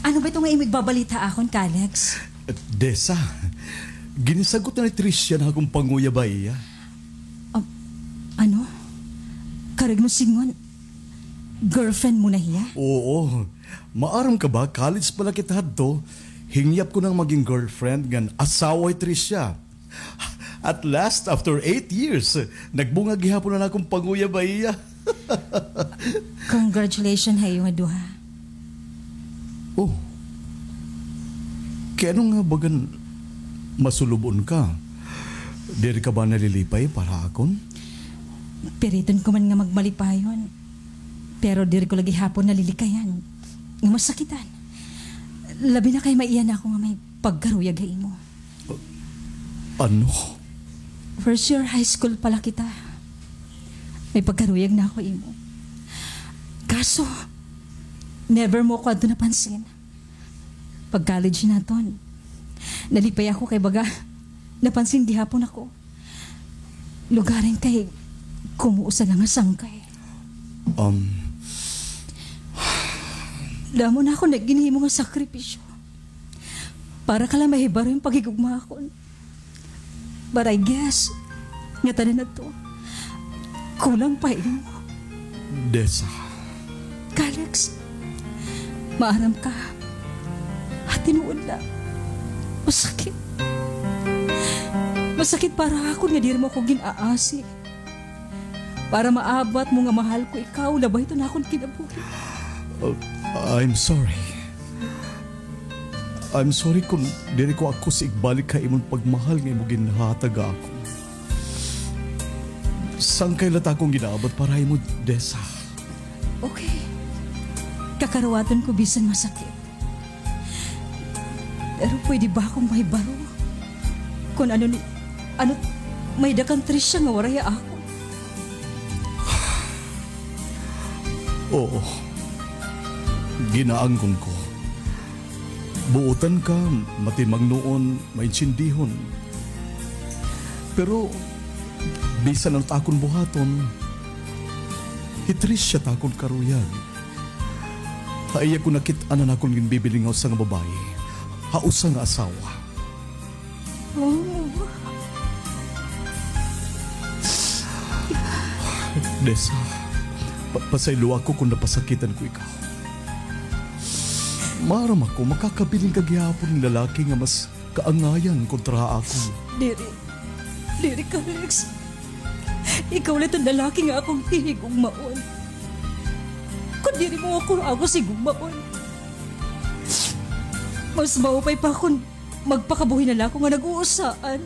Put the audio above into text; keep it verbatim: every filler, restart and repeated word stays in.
Ano ba ito nga imo igbabalita akon, Kalex? Desa, ginisagot na ni Tricia an akon panguyab ha iya. Ah, ano? Karuyag mo sidngon, girlfriend mo na hiya? Oo. Maaram ka ba, college pa la kita hadto, hingyap ko na nga magin girlfriend ngan asawa hi Tricia. At last, after eight years, nagbunga gihapon an akon panguyab ha iya. Congratulations ha iyo nga duha. Oh. Kay ano nga bagan masulub-on ka? Diri ka ba nalilipay para ha akon? Piriton ko man nga magmalipayon, pero diri ko la gihapon nalilikayan nga masakitan. Labi na kay maiya na ako nga may pagkaruyag ha imo. Ano? First year high school pa la kita, may pagkaruyag na ako ha imo. Kaso, never mo ako adto napansin. Pag-college naton, nalipay ako kay baga napansin gihapon ako. Lugaring kay kumuusa la nga sangkay. Um. Damo na ako nagginhimo nga sakripisyo para ka la mahibaro hin paghigugma akon. But I guess, ngatanan adto, kulang pa imo. Desa. Kalex, maaram ka, ha tinuod la, masakit. Masakit para akon nga diri mo ako gin-aasi. Para maabat mo nga mahal ko ikaw, labay ito na akon kinabuhi. Uh, I'm sorry. I'm sorry kon diri ko akos igbalik ha imo an pagmahal nga imo ginhatag ha akon. Sangkay la it akon gin-aabot para ha imo, Desa. Okay. Kakaruwaton ko bisan masakit. Pero pwede ba akong mahibaro kon ano ni, ano may-ada kan Tricia nga waray ha akon? Oo. Ginaangkon ko. Buotan ka, matimangnoon, maintsindihon. Pero, bisan ano it akon buhaton, hi Tricia it akon karuyag. Ha iya ko nakit-an an akon ginbibiling nga usa nga babaye, ha usa nga asawa. Oh. Desa, pa-, pasayloa ako kon napasakitan ko ikaw. Maaram ako, makakabilin ka gihapon hin lalaki nga mas kaangayan kontra ha akon. Diri. Diri, Kalex. Ikaw la it lalaki nga akon hihigugmaon. Kon diri mo ako akos higugmaon, mas maupay pa kon magpakabuhi na la ako nga nag-uusaan.